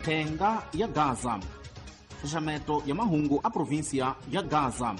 Thenga ya Gaza. Xaxameto ya mahungu a provinsia ya Gaza.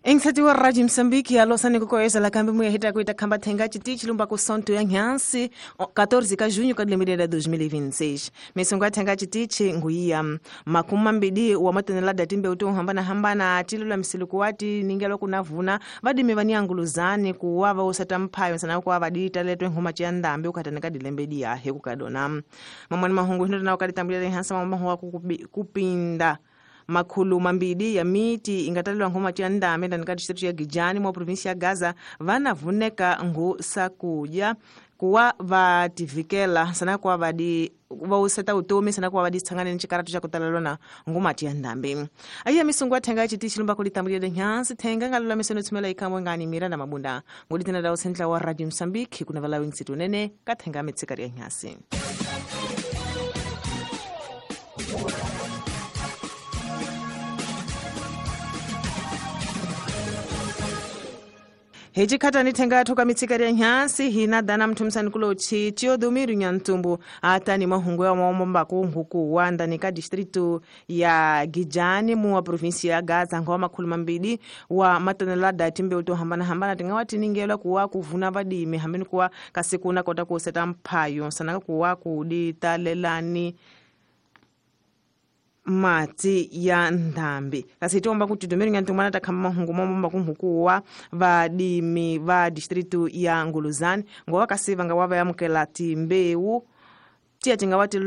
Engisati wa Radio Msambiki alosani kukoeza la kambi muya hita kuita kamba thenga chitichi lumba kusonto ya nhansi 14 ka junho ka 2026. Misongo ya thenga chitichi nguia makumi mambidi wa matonelada timbe utu hambana hambana tilula msiluku wati ningelo kunavuna vadimi vanianguluzani kuwava usata mphayo sana kuwa vadita letwe ngoma chiandambi ukatanika dilembedi yahe kukadona. Mamwani mahungu hino na ukalitambulira nhansi mamahungu kupinda makhulu mambidi ya miti ingatalelwa ngoma chiandambi ndanika district ya Gijani mwa provinsi ya Gaza vanavuneka ngu sakuja kuwa vativikela sana kuwa vadi vauseta utomi sana kuwa vaditsangane ni chikaratu cha kutalelwa na ngoma chiandambi. Aiya misungu athenga chiti chilumba kulitambulira nyansi thenga ngalula misono tsumela ikamwe ngani mira na mabunda ngoditina dawo sentla wa Radio Msambiki kuna vala wings tunene kathenga mitsikari ya nyasi. Hechikata nithenga thoka mitsikari ya nyansi hina dana mthumsani kulochi Tiodomiro Nyantumbu atani mahungu ya maomba kuhuku wanda nika distrito ya Gijani muwa provinsi ya Gaza ngwa makhulu mambili wa matonelada timbe uto hambana hambana tingawati ningelwa kuwa kuvuna vadimi hambeni kuwa kasikuna kota kuseta mphayo sanaka kuwa kuditalelani mati ya ndambi kasi tiomba kuti Tiodomiro Nyantumbu anatakamba mahungu momba kunhukuwa vadimi va distrito ya Nguluzani ngowa kasi vanga wava yamukela timbewu tiya tingawati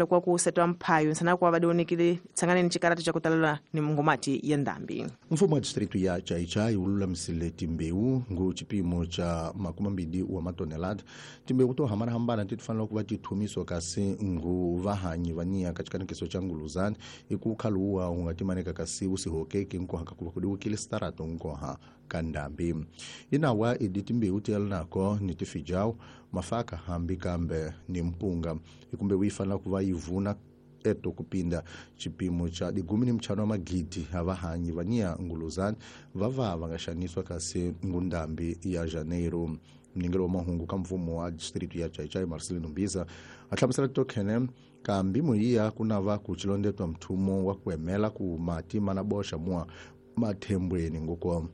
kwa kusetwa mphayo sana kwa vadionekile tsanganeni chikaratu cha kutalelwa ni ngomati ya ndambi. Mfumo wa distrito ya Chaichai ululamisile timbewu ngu chipimo cha 20 wa matonelada timbewu to hambana hambana titufanela kuva tithumiswa kasi ngu vahanyi vania kachikanikiso cha Nguluzani ikukhaluwa ungatimaneka kasi usihokeke nkoha kakuva kudiwukile starato nkoha kandambi inawa idi timbewu tiyalinako ni tifijau mafaka hambi kambe ni mpunga ikumbe wifanela kuva ivuna eto kupinda chipimo cha 15 wa magidi avahanyi vania Nguluzani vava vangaxaniswa kasi ngundambi ya Janeiro. Mningelo wa mahungu ka mfumo wa distrito ya Chaichai Marcelino Mbiza ahlamusela tokhene kambi muyiya kunava kuchilondetwa mthumo wa kuemela ku mati mana boxa mua mathembweni ngoko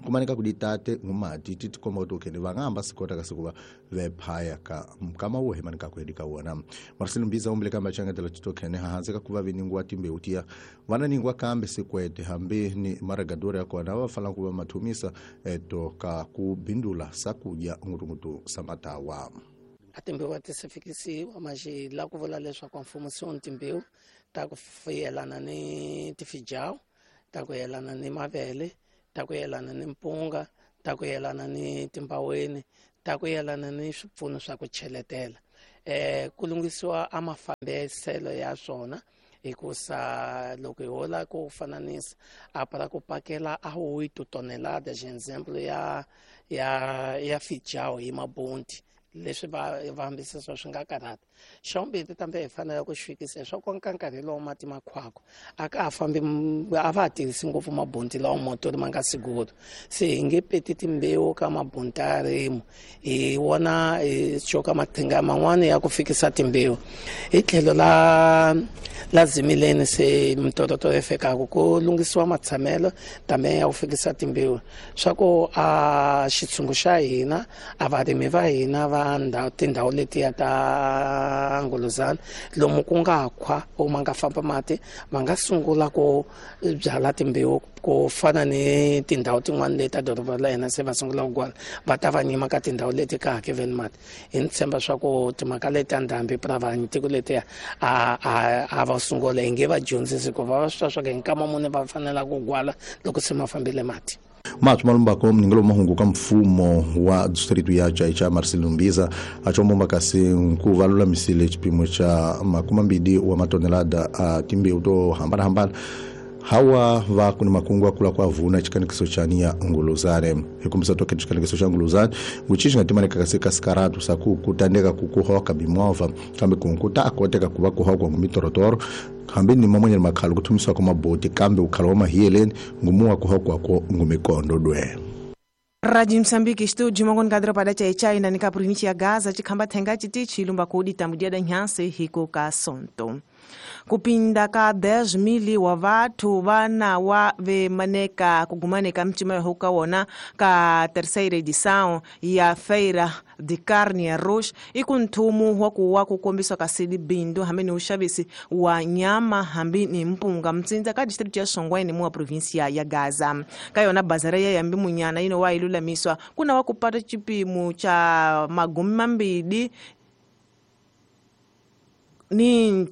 kumanika kuditate ngumati titikomba kuti ukhene vangahamba sikota kasi kuva vephaya ka mkama wo hemanika kuhedi ka wona. Marcelo Mbiza umbile kambe achangetela titokhene hahansi ka kuva viningwa timbewu tiya vananingwa kambe sikwete hambi ni maragadori ya kona va fanela kuva mathumisa eto ka kubindula sakudya ngutungutu samatawa. A timbewu a ti se fikisiwa maxi la ku vula leswaku mfumo se wu timbewu ta ku yelana ni tifijawu ta ku yelana ni mavele ta ku yelana ni mpunga ta ku yelana ni timbaweni ta ku yelana ni swipfuno swa ku cheletela ku lunghisiwa a mafambiselo ya swona hikusa loko hi hola ku fananisa a para ku pakela a 8 tonelada example ya fijawu hi mabunti leswi va hambisisa swi nga karhata. Xa vumbirhi tambe hi fanele ku xi fikisa leswaku ka nkarhi lowu mati makhwako a ka ha fambi a va ha tirhisi ngopfu mabunti lawa motori ma nga siguro se hi nge peti timbewu ka mabunti ya rimu hi wona hi coka mathinga man'wani ya ku fikisa timbewu hi tlhelo la zimileni se mitototo yi fikaka ku lunghisiwa matshamelo tambe ya ku fikisa timbewu swa ku a xitshungu xa hina a varimi va hina va tindhawu letiya ta Nguluzani lomu ku nga khwa u ma nga famba mati va nga sungula ku byala timbewu ku fana ni tindhawu tin'wana leti ta doroba la hina se va sungula ku gwala va ta va nyima ka tindhawu leti ka hakeveni mati hi ni tshemba swa ku timhaka leti ta ndhambi pravani tiko letiya a va sungula hi nge va dyondzisi ku va swi twa swa ku hi nkama muni va fanela ku gwala loko se ma fambile mati. Mathu malumbako mningelo mahungu ka mfumo wa distrito ya Chaichai Marcelino Mbiza achomomba kasi nkuva lulamisile chipimo cha 20 wa matonelada a timbewu to hambana hambana Hawa va kuni makungu akula kwa vuna chikanikiso cha nia nguluzane hikumbisa toke chikanikiso cha nguluzane nguchishi ngatimaneka kasika sikaratu saku kutandeka kukuhoka bimova kambe kunkuta akoteka kuva kuhokwa ngumitorotoro hambi ni mamonyela makhala kuthumiswa kwa maboti kambe ukhala wa mahiyeleni ngumuwa kuhokwa ko ngumikondo dwe. Rádio Moçambique, estúdio mongoni kadro pada chai na nika província ya Gaza chikhamba thenga chiti chilumba kudi tambudia da nhanse hiko ka sonto. Kupinda ka 10,000 wa vathu vana wa vemaneka kugumaneka mchima yahuka wona ka terceira edição ya Feira de Carne Arroz ikunthumu wa kuwa kukombiswa ka sili bindu hambi ni uxavisi wa nyama hambi ni mpunga mtsindza ka district ya Songweni muwa província ya Gaza. Ka yona bazara ya yambi munyana ino wa ilulamiswa kuna wa kupata chipimo cha 20 ni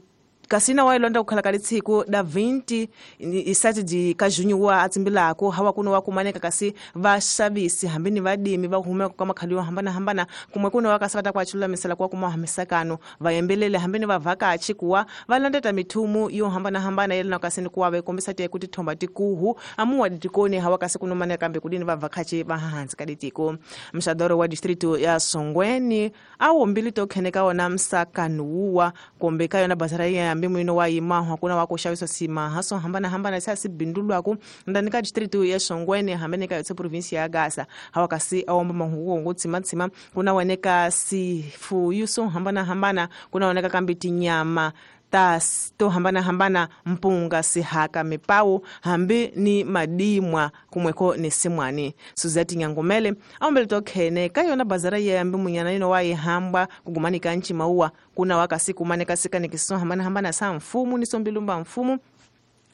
kasina wa ilonda kukhala ka litshiku da 20 isati ka junho wa atsimbilako hawa kuno wa kumaneka kasi vaxavisi hambi ni vadimi va humeka ka makhali yo hambanahambana kumwe kuno wa kasi va ta ku achululamisela kuwa kuma hamisakano vayembelele hambi ni vavhakachi kuwa va landeta mithumu yo hambanahambana yelana kasi ni kuwa va kombisa tiye ku tithomba tikuhu amuwa ditikoni hawa kasi kuno maneka kambe kudini vavhakachi va hansi ka ditiko. Mxadoro wa distrito ya Songweni awombili to kheneka wona msakano wuwa kumbe ka yona bazara ya mbi muino wa yimahwa kuna wa kuxavisa simaha swo hambanahambana sa sibindulwaku ndani ka district ya Songweni hambene ka yotse province ya Gaza hawa kasi awomba mahungu tsimatsima kuna waneka sifuyu swo hambanahambana kuna waneka kambi tinyama ta to hambanahambana mpunga sihaka mipawu hambi ni madimwa kumweko ni simwani. Suzette Nyangomele aombele tokhene ka yona bazara ya yambi munyana ino wa ihamba kugumanika nchi maua kuna wakasi kumaneka sikanikiso hambanahambana sa mfumu ni sombilumba mfumu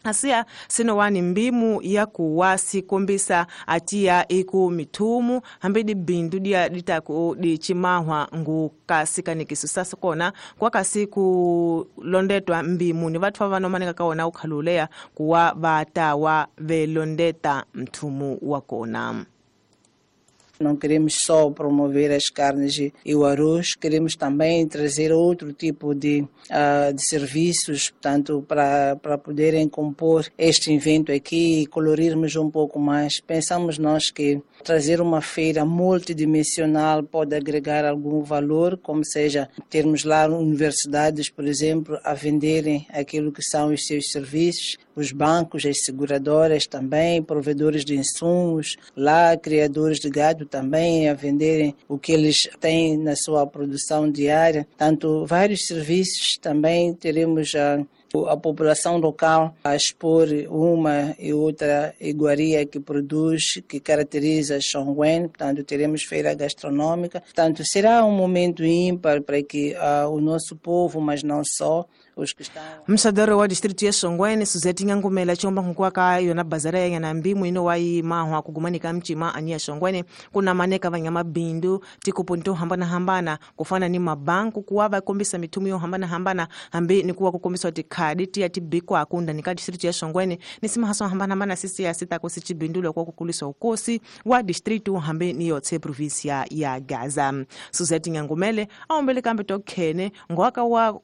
Asiya sinowani mbimu ya kuwasi kombisa atiya iku mithumu hambi dibindu dia ditaku dichimahwa ngu kasi kanikiso sasa kona kwa kasi kulondetwa mbimu ni vathu vanomaneka kaona ukhaluleya kuwa vatawa velondeta mthumu wa kona. Não queremos só promover as carnes e o arroz, queremos também trazer outro tipo de serviços, portanto, para poderem compor este evento aqui e colorirmos um pouco mais. Pensamos nós que trazer uma feira multidimensional pode agregar algum valor, como seja termos lá universidades, por exemplo, a venderem aquilo que são os seus serviços, os bancos, as seguradoras também, provedores de insumos, lá criadores de gado também a venderem o que eles têm na sua produção diária. Tanto vários serviços também teremos a população local a expor uma e outra iguaria que produz, que caracteriza Xongwen, portanto teremos feira gastronômica. Portanto, será um momento ímpar para que o nosso povo, mas não só, os que estão... Mxadoro wa distrito ya Xongweni, Suzette Nyangomela chomba nkuwa ka yona bazara ya na mbimu ino wa imahwa kugumanika mchima ani ya Xongweni kuna maneka vanyama bindu tikupunto hambana hambana kufana ni mabanku kuwa vakombisa mithumu yo hambana hambana hambi ni kuwa kukombiswa tikhadi tiya tibikwa akunda nika distrito ya Xongweni ni simahaso hambana hambana sisi ya sita kosi chibindulo kwa kukuliswa ukosi wa distrito hambi ni yotse provinsia ya Gaza. Suzette Nyangomele aombele kambe tokhene ngwaka wa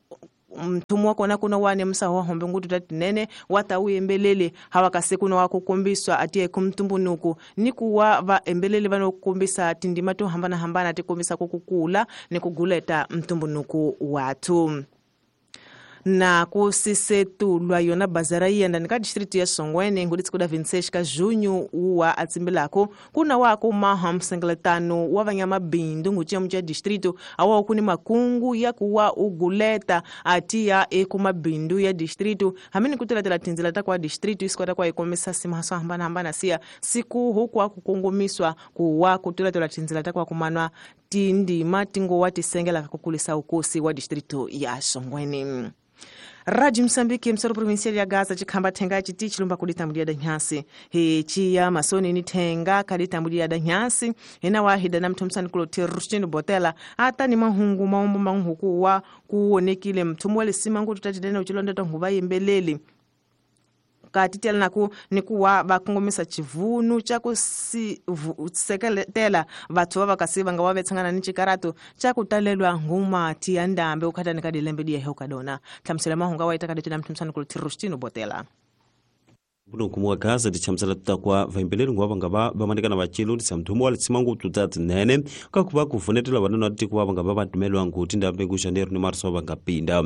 mthumu wakona kuna wane msaho hombe ngutu tatinene watawuyembelele hawakase kuna wakukombiswa atiye kumtumbunuku ni kuwa vaembelele vanokukombisa tindima to hambanahambana tikombisa kukukula ni kuguleta mtumbunuku watu. Na kusisetulwa yona bazara yenda nika district ya Songweni nguditsikuda 26 ka junho uwa atsimbilako kuna wako maha msengeletano wa vanyama bindu nguchemu cha distrito awa kuni makungu ya kuwa uguleta atiya ekumabindu ya distrito hamini kutelatela tinzila ta kwa distrito isikwata kwa ikomisa simahaso hambana hambana siya siku huku akukongomiswa kuwa kutelatela tinzila ta kwa kumanwa tindima tingo wa tisengela kakukulisa ukosi wa distrito ya Songweni. Rádio Moçambique, emissora provincial ya Gaza, chikhamba thenga chiti chilumba kuditambulia da nhansi. He chiya masoni ni thenga kaditambulia da nhansi. Hina wahida na mthomsani kulo Rustino Botela. Ata ni mahungu maombo manhuku wa kuonekile mthumu wale simangu tutatidena uchilonda tonguva yembeleli. Katitela naku nikuwa vakongomisa chivunu cha kuseketela vathu va vakasi vanga wa vetsangana ni chikarato cha kutalelwa nguma tiya ndambe ukhatani ka dilembe diya heuka dona. Hlamusela mahunga wa ita ka ditela mthomsani kulo Rustino Botela. Kuno wa Gaza dichamusela tutakwa vaimbeleli ngwa vanga va vamanikana vachilundisa mthumo wa litsima ngopfu ta tinene kakuva kuvunetela vanhu va tiko va nga va vatumelwa ngoti ndambe ku Janeiro ni Marso va nga pinda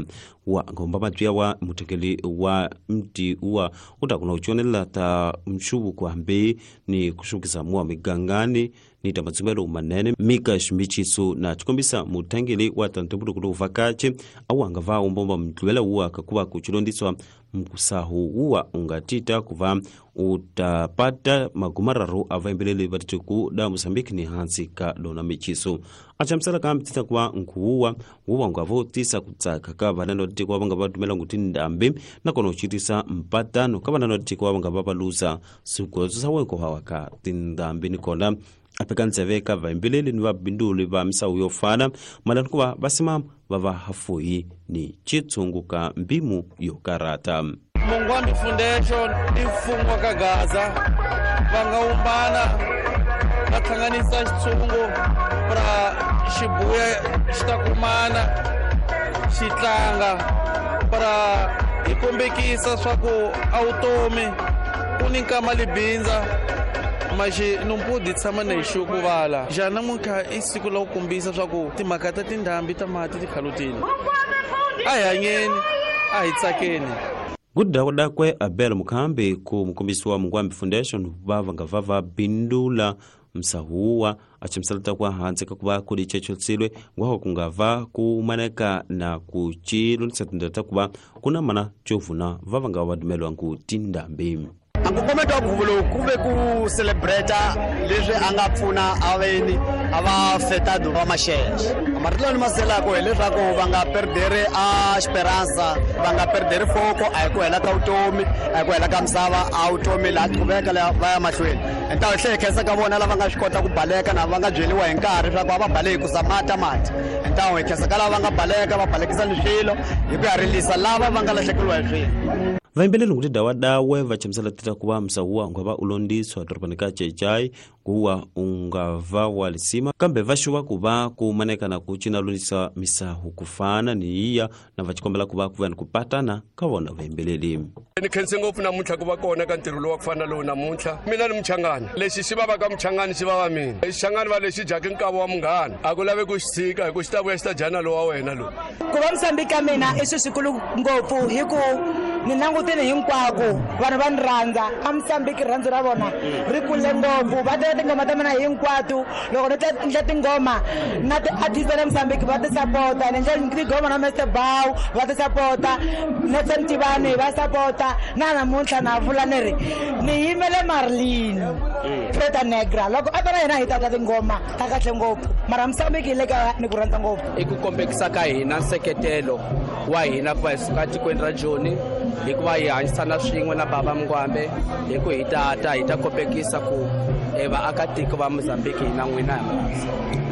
wa ngomba mabya wa muthekeli wa mti wa utakuna kuchonela ta mshuvuko hambi ni kushukisa muwa migangani ni tamatsumelo manene mika ximichiso na chikombisa muthangeli wa tantubulukulo vakache awanga va umbomba mdlwela uwa kakuva kuchilondiswa mkusahu uwa ungatita kuva utapata magumararo avaimbeleli vatitiku da Mozambique ni hansi ka dona michiso achamisala kambitita kuva nkhuwuwa wuwa ngavotisa kutsaka ka vanana vatitiku vanga vatumela nguti ndambi nakona uchitisa mpatano ka vanana vatitiku vanga vavaluza swigodzo swa wenko hawa ka tindambi nikona apekandzeve ka vaimbeleli ni vabinduli va misawu yo fana malani kuva vasimama vava hafuhi ni chitsungu ka mbimu yo karata. Mungwambi Foundation i mfumo wa ka Gaza va nga umbana va hlanganisa xitshungu pra xibuya xi ta kumana xi tlanga pra hi kombekisa swa ku a vutomi ku ni nkama libindza maxi numpudi tshama na hi xukuvala jana namuntlha i siku la ku kombisa swa ku timhaka ta tindhambi ta mati ti khalutile a hi hanyeni a hi tsakeni. Gudakudakwe Abel Mukhambi ku mukombisi wa Mungwambi Foundation va nga va va bindula msahuwa achimusalata kwa hansi kakuva kuli chechosilwe ngwako kungava kumaneka na kuchilundisa tindlela kuva kuna mana chovuna va va nga vadumelwa ngu tindhambi. Nkongometo wa nkhuvo lowu ku ve ku celebrate leswi a nga pfuna aveni a va fetado va maxexe. Marito lawa ni ma selako hileswaku va nga perdere a esperanza, va nga perdere foko, a hi ku hela ka vutomi, a hi ku hela ka misava, a vutomi laha qhubeka va ya mahlweni. Hi tlhela hi khensa ka vona lava nga swi kota ku baleka na va nga byeriwa hi nkarhi leswaku a va baleki ku za mati mati. Hi khensa ka lava va nga baleka va balekisa ni swilo hi ku ya rilisa lava va nga lahlekeriwa hi swilo. Vaimbeleli nguti dawadawe vachamusela tita kuva msahuwa ungava ulondiswa dorobani ka Chechai kuwa ungava walisima kambe vashuva kuva kumaneka kuchina londisa misahu kufana ni iya na vachikombela kuva kuva ni kupatana ka vona vaimbeleli. Ni khense ngopfu namuntlha ku va kona ka ntirho lowu wa ku fana lowu namuntlha. Mina ni muchangani lexi xi vavaka muchangani xi vava mina xichangani va lexi dyaka nkava wa munghana a ku lavi ku xi tshika hi ku xi ta vuya xi ta dyana lowa wena lowu. Ku va Mozambique ka mina i swilo swikulu ngopfu hi ku ni langutile hinkwako vanhu va ni rhandza a Mozambique rirhandzu ra vona ri kule ngopfu va teka tingoma ta mina hinkwato loko ni endla tingoma na ti-artist ta le Mozambique va ti sapota ni endla tingoma na Mr Bow va ti sapota Nelson Tivani va sapota na namuntlha na vula ni ri ni yimele Marlene Preta Negra loko a ta na yena hi tata tingoma ta kahle ngopfu mara Mozambique hi le ka ni ku rhandza ngopfu. I ku kombekisa ka hina nseketelo wa hina ku va hi suka tikweni ra Joni hikuva hi hanyisana swin'we na baba Mungwambe hi ku hi tata hi ta kombekisa ku vaakatiko va Mozambique hina n'wina hi murhandza.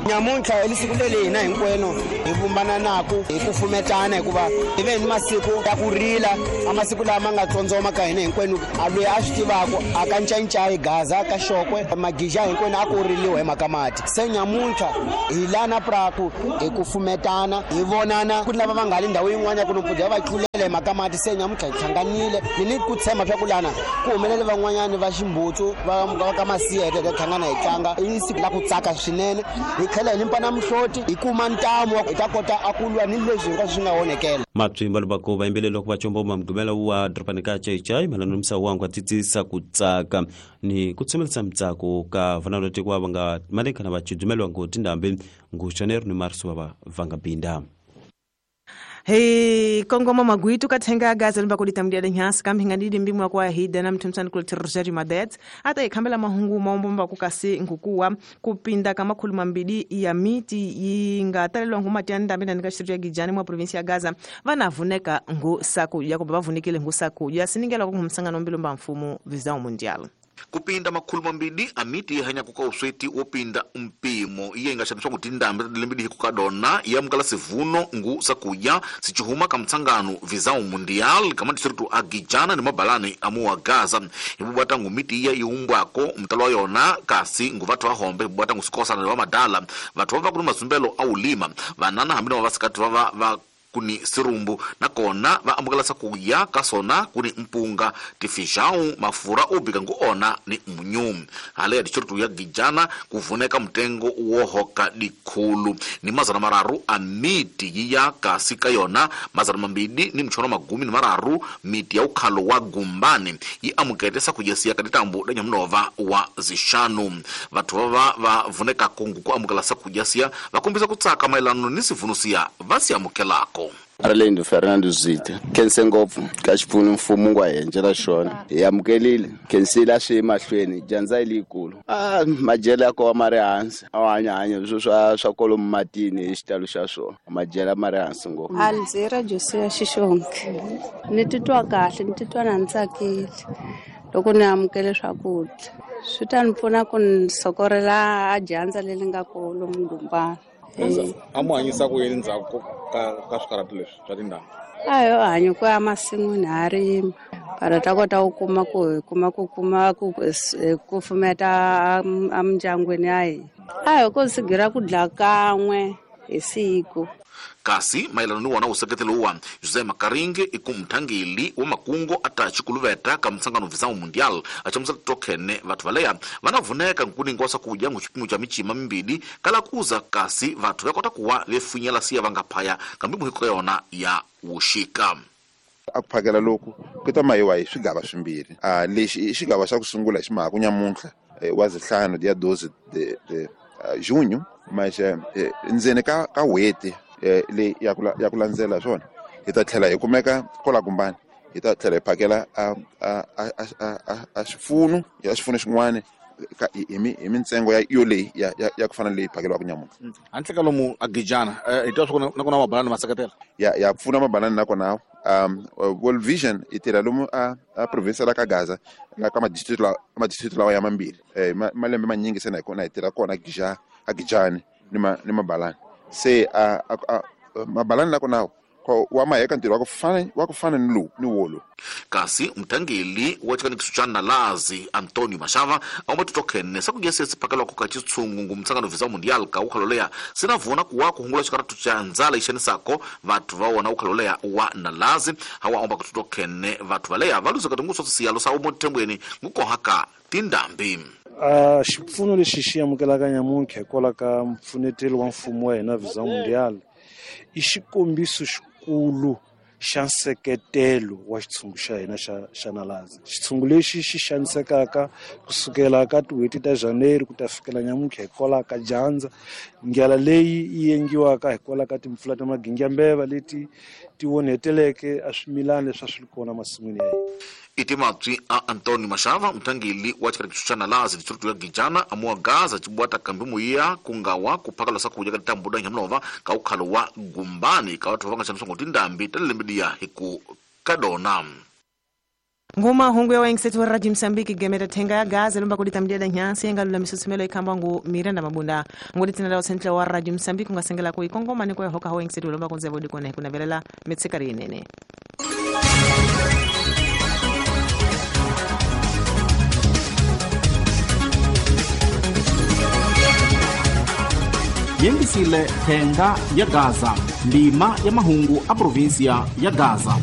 Nyamuntlha i siku leri hina hinkwenu hi vumbananaku hi ku fumetana hikuva hi ve ni masiku ya ku rila a masiku lama nga tsondzoma ka hina hinkwenu a loyi a swi tivaku a ka ncayicayi Gaza ka Xokwe magija hinkwenu a ku riliwa hi mhaka mati se nyamuntlha hi lana praku hi ku fumetana hi vonana ku lava va nga le ndhawu yin'wana ya ku nompfudza va tlulela hi mhaka mati se nyamuntlha hi hlanganile ni ni ku tshemba swa ku lana ku humelele van'wanyani va ximbutsu va ka Masiyete hi hlangana hi tlanga i siku la ku tsaka swinene hi tlhela hi limpa na muhloti hi kuma ntamu hi ta kota a ku lwa ni leswi hinkwaswo swi nga onhekela. Mapfimba lobako vaimbeleli loko va chomboma mugqivela wa dorobani ka Chechai malano msawu wangu atitsisa ku tsaka ni ku tsemelisa mitsako ka vana va va nga malekana va chidumelwa ngu tindhambi ngu Janeiro ni Marso va va nga binda. Hey kongoma magwitu kathenga gaza limba kuditamdia lenyasi kambi ngandidi mbimu wa kwa hida na mtumsani kule Rogério Madet ata ikhambela mahungu maombomba kukasi nkukuwa kupinda kama khuluma mbili ya miti ingatalelwa nguma tyanda mbina nikashirya gijani mwa provinsi ya Gaza vanavuneka ngu saku yakoba vavunikile ngu saku ya siningela kwa msangano mbilomba mfumo Visão Mundial. Kupinda makhulu mambili amiti hanya kuka usweti wopinda mpimo iye ingashandiswa kuti ndambi tadilembi hikukadona yamukala sivuno ngu sakuya sichihuma kamtsangano Visão Mundial kama distritu agijana ni mabalani amuwa Gaza ibubwata ngu miti iya iumbwako mtalo wa yona kasi ngu vathu vahombe ibubwata ngu sikosana ni vamadala vathu vava kuni mazumbelo aulima vanana hambi na vavasikati vava va kuni sirumbu nakona va amukela sakuya ka sona kuni mpunga tifijau mafura obika ngu ona ni munyu hale ya distritu ya Gijana kuvuneka mtengo wohoka dikhulu ni 300 a miti yiya kasi ka yona 200 ni mchono 13 miti ya ukhalo wa Gumbani yi amukete sakujesiya ka ditambu da Nyamunova wa zishanu. Vathu vava va vuneka kungu ku amukela sakujesiya vakombisa kutsaka maelano ni sivunusiya va si amukelako. Arlindo Fernando Zita khense ngopfu ka xipfuno mfumo wa henjela xona hi amukelile khensile a swi emahlweni dyandza leyikulu a madyelo ya kowa ma ri hansi a hanya swo swa kolomu matini hi xitalo xa swona madyelo ma ri hansi ngopfu. Alzira Josia Xixonke ni titwa kahle ni titwa na ni tsakile loko ni amukele swakudya swi ta ni pfuna ku ni sokorela a dyandza leri nga kolo Mungumbana. A mu hanyisa ku yini ndzhaku ka swikarhati leswi swa tindhawu? A yo hanya ku ya masin'wini ha rima para ta kota ku kuma ku kuma ku kuma ku kufumeta emindyangwini ya hina. A hi ko sigira ku dla kan'we hi siku. Kasi maelano ni wona useketelo wa Jose Makaringe ikumthangeli wa makungo ata chikuluveta ka mtsangano Visão Mundial achamusa tokhene vathu valeya vanavuneka nkuningo wa kudya nguchipimo cha michima mimbili kala kuza kasi vathu vakota kuwa vefunyela siya vangaphaya kambi muhiko yona ya wushika. Akuphakela loku ku ta mayiwa hi swigava swimbirhi lexi i xigava xa ku sungula xi mhaka nyamuntlha wa zihlanu dia 12 de junho mas ndzeni ka n'hweti leyi ya ku landzela swona hi ta tlhela hi kumeka kola Gumbani hi ta tlhela hi phakela a xipfuno ya xipfuno xin'wana hi mintsengo ya yoleyi ya ku fana leyi phakeliwaka nyamuntlha. Handle ka lomu a Gijana hi twa swa ku na mabanani ma seketela ya pfuna mabanani nakona World Vision i tirha lomu a province la ka Gaza la ka madistrict lawa ya mambirhi malembe manyingi se na hi tirha kona a Gijani ni mabalani se a mabalani nakona wa maheka ntirho wa ku fana ni lowu ni wolo. Kasi mthangeli wa chikanikiso cha Nalazi Antonio Mashava aomba titokhene sakugese siphakelwako ka chitshungu ngumtsangano Visão Mundial ka ukhaloleya sinavona kuwa kuhungula xikaratu cha ndzala ixanisako vathu va wona ukhaloleya wa Nalazi hawa omba kutitokhene vathu valeya va luzeka tinguso siyalo sa umothembweni ngukohaka tindhambi. Xipfuno lexi xi amukelaka nyamuntlha hikwalaho ka mpfunetelo wa mfumo wa hina Visão Mundial i xikombiso xikulu xa nseketelo wa xitshungu xa hina xa Nalazi. Xitshungu lexi xi xanisekaka kusukela ka tin'hweti ta January ku ta fikela nyamuntlha hikwalaho ka dyandza, ndlala leyi yi endliwaka hikwalaho ka timpfula ta magingiyambeva leti ti onheteleke a swimilana leswi a swi ri kona masin'wini ya hina. Itimatswi a Antonio Mashava mthangeli wa chikarikiso cha Nalazi district ya Gijana amuwa Gaza chibwata kambi muya kungawa kuphakala sakudya ka tambuda Nyamunova ka ukhalo wa Gumbani ka vathu va nga xaniswa tindhambi ta lembe liya hi ku kadona. Nguma hungu ya wengisetu wa Radio Msambiki gemeta thenga ya Gaza lumba kudita mdiada nyansi yenga lula misusumelo ikamba ngu Miranda Mabunda ngudi tinada usentle wa Radio Msambiki ungasengela kuikongoma ni kwa hoka wengisetu lumba kunze vodi kone kuna velela mitsikari inene. Yengisile thenga ya Gaza ndima ya mahungu a provinsia ya Gaza.